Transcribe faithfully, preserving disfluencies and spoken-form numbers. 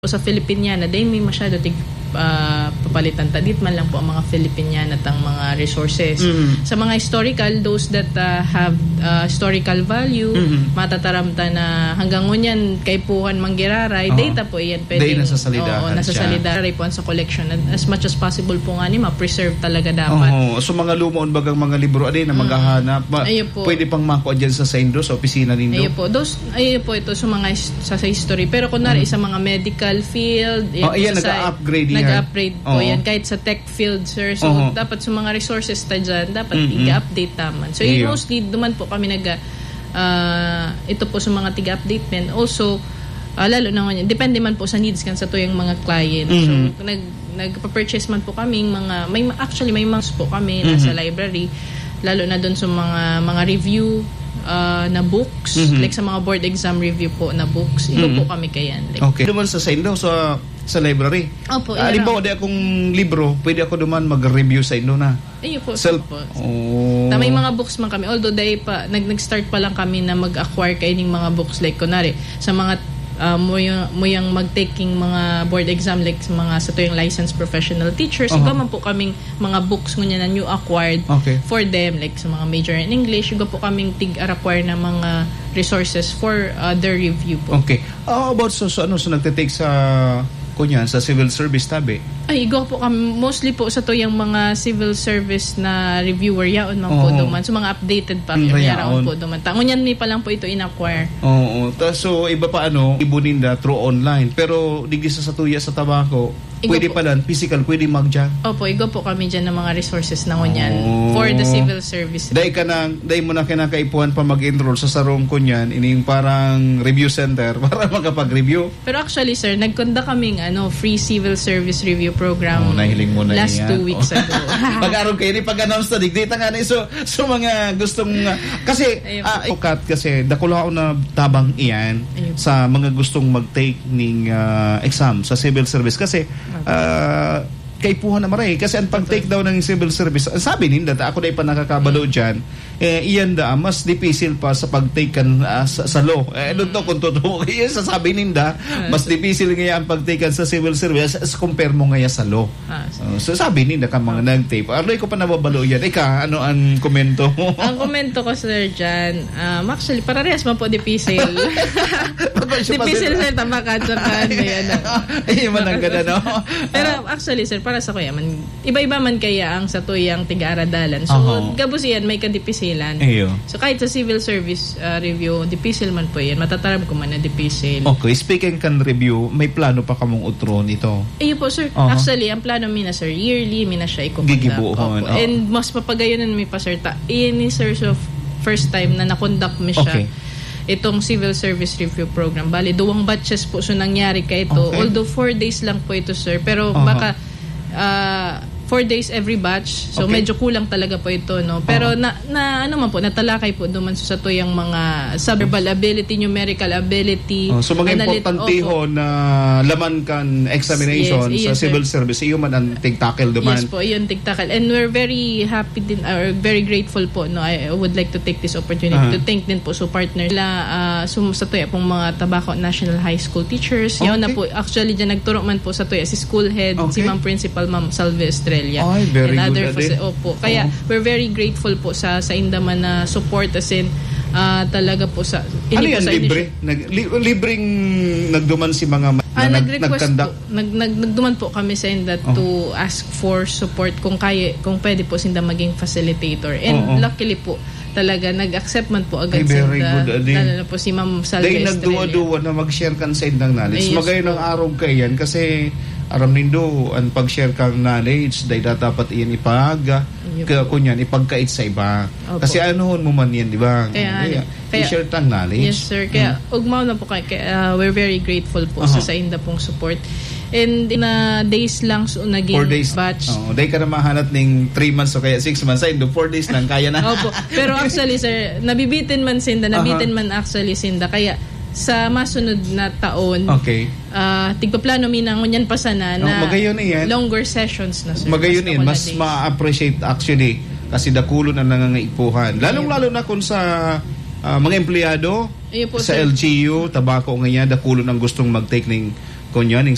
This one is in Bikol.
Sa Filipiniana, dai mi masyado tig-, ah, papalitan ta. Dit man lang po ang mga Filipiniana tang mga resources. Mm. Sa mga historical, those that, ah, have, ah, historical value, Mm. matataram ta na hanggang ngunyan, kaipuhan manggiraray, Oo. data po iyan. Dai Pwedeng, nasa salidahan oo, nasa siya. salidahay po sa collection. And as much as possible po nga ni, ma-preserve talaga dapat. Oo. So, mga lumoon bagang mga libro, adi na Mm. maghahanap, ma-, Ayun po. pwede pang makuha dyan sa saindo, sa opisina nindo? Ayun po. Those, ayun po ito sa mga his-, sa, sa history. Pero kunwari, Mm. sa mga medical field, yun Oh, po ayan, sa sci-, nag-a-upgrade yan. nag-a-upgrade po Oo. yan. Kahit sa tech field, sir. So, Oo. dapat sa mga resources ta dyan, dapat Mm-mm. i-update naman. So, Iyo. mostly, duman po kami nag-, ah, ito po sa mga tiga-update men. Also, ah, lalo na ngayon, depende man po sa needs kan sa tuyang mga client. So, Mhm. nag-, nagpa-purchase man po kaming mga, may, actually, may mga po kami nasa Mhm. library, lalo na dun sa mga, mga review, ah, na books, Mhm. like sa mga board exam review po na books, iba Mhm. po kami kayan. Like, Okay. Naman sa saindo, sa, sa library. Opo, Ah, halimbawa, ira- di akong libro, pwede ako duman mag-review saindo na. Iyo po, Self. sir po. Oh. Na may mga books man kami. Although, dai pa, nag-, nag-start pa lang kami na mag-acquire kaining mga books. Like, kunwari, sa mga, ah, muyang, muyang mag-taking mga board exam, like, sa mga sa tuyang licensed professional teachers, Aha. iba man po kaming mga books ngunyan na new acquired Okay. for them, like, sa mga major in English, iba po kaming tig-acquire na mga resources for, ah, their review po. Okay. Ah, about sa, sa ano, sa nagtitake sa, kunyan, sa civil service tabi? Ay, igwa po kami, mostly po sa tuyang mga civil service na reviewer, yaon man po Oo. duman. So, mga updated pa, Mm, yaon yaon. po duman. Ta-, ngunyan mi pa lang po ito in-acquire. Oo. Ta-, so, iba pa, ano, ibo ninda through online. Pero, digdi sa, sa tuya, sa Tabaco, Igo pwede po. pala, physical, pwede magdiyan. Opo, igo po kami diyan ng mga resources na ngunyan Oh. for the civil service. Dai ka na, dai mo na kinakaipuhan pa mag-enroll sa sarong kunyan, ining parang review center para makapag-review. Pero actually, sir, nag-conduct kaming, ano, free civil service review program Oh, nahiling mo na last yan. two weeks Oh. ago. Pag-arog kayo, ni pag-announce na, digdi ta nga na. So, so mga gustong, uh, kasi, Ayun. ah, ukat kasi, dakula ako na tabang iyan Ayun. sa mga gustong mag-take ning, ah, exam sa civil service. Kasi, Okay. ah, kaipuhan na maray. Kasi ang pag-take Okay. daw ng civil service, ang sabi ninda, ta ako na ipa nakakabalo Mm. dyan, eh, iyan da, mas dipisil pa sa pag-take kan, ah, sa, sa law. Eh, I don't know kung totoo. Iyan sasabi ninda, Ah, mas so dipisil ngayon ang pag-take kan sa civil service as, as compare mo ngayon sa law. Ah, so Oh, so sabi ninda ka mga Ah. nag-take. Aroy ko pa nababalo yan. Ika, ano ang komento mo? Ang komento ko, sir, dyan, um, actually, parehas man po dipisil. Pag siya pa Dipisil, sila. sir, tabaka, tsaka ano yan, ah. Ay, mananggad, ano? Pero Ah. actually, sir, para sa kuya man, iba-iba man kaya ang sa tuyang tiga-aradalan. So, Aha. gabos yan, may kadipisilan. Iyo. So, kahit sa civil service, ah, review, dipisil man po yan. Matataram ko man na dipisil. Okay, speaking kan review, may plano pa kamong utro nito? Iyo po, sir. Aha. Actually, ang plano mi na, sir, yearly mi na siya iko-conduct. Gigibuhon, Opo. oo. And mas papagayonan mi pa, sir, ta ini, sir, so first time na na-conduct mi siya. Okay. Itong civil service review program. Bali, duwang batches po so nangyari ka ito. Okay. Although four days lang po ito, sir. Pero Aha. baka, ah, four days every batch. So, Okay. medyo kulang talaga po ito, no? Pero Aha. na, na, ano man po, natalakay po duman sa tuyang mga sa verbal ability, numerical ability, Oh, so, mga analyt-, importantehon opo. na laman kan examination Yes, sa yes, sir. civil service, iyo man ang tig-tackle duman. Yes po, iyon tig-tackle. And we're very happy din, or very grateful po, no? I would like to take this opportunity Ah. to thank din po sa partner nila, ah, sum-, sa tuya pong mga Tabaco National High School teachers. Yun na Okay. po, actually, dyan nagturo man po sa tuya si school head, si Okay. Ma'am Principal, Ma'am Salve Estrella. Ay, very And good, other ade. faci-, opo. Kaya, Oo. we're very grateful po sa, sa inda man na support, as in, ah, talaga po sa, Ano ini po yan, sa libre? initi- Nag-, li-, libreng nagduman si mga ma-, Ah, na nag-, nag-request nag-conduct? po. Nag-, nag-, nagduman po kami sa inda Oh. to ask for support kung kaya, kung pwede po sinda maging facilitator. And Oo. luckily po, talaga, nag-accept man po agad Ay, very sinda. good, adi. Lalo na po si Ma'am Salve Dahil Estrella. nagduwa-duwa na mag-share kan sa indang knowledge. Yes Magayon po. ang arog kaiyan kasi aram nindo, ang pag-share kang knowledge, dahil dapat iyan ipag-, Ayun ka-, po. kunyan, ipagkait sa iba. Opo. Kasi anuhon mo man yan, di ba? Kaya, Kaya, kaya, i-share tang knowledge. Yes, sir. Kaya, Mm. ugmaw na po kay, kay, ah, we're very grateful po Aha. sa, sa inda pong support. And in a days lang, so, naging Four days. batch. Oo, dahil ka na mahanat ning three months o kaya six months, ay, do four days lang, kaya na. Opo. Pero actually, sir, nabibitin man sinda, Aha. nabitin man actually sinda. Kaya sa masunod na taon, Okay. ah, tigpaplano mi na ngunyan pa sana Oh, na magayon iyan. longer sessions na, sir. Magayon Mas iyan. Mas makulad eh. ma-appreciate actually kasi dakulon ang nangangaipuhan. Lalong-lalo na kung sa, ah, mga empleyado Ayun po, sa sir. L G U, Tabaco ngayon, dakulon ang gustong mag-take ning, kunyan, ning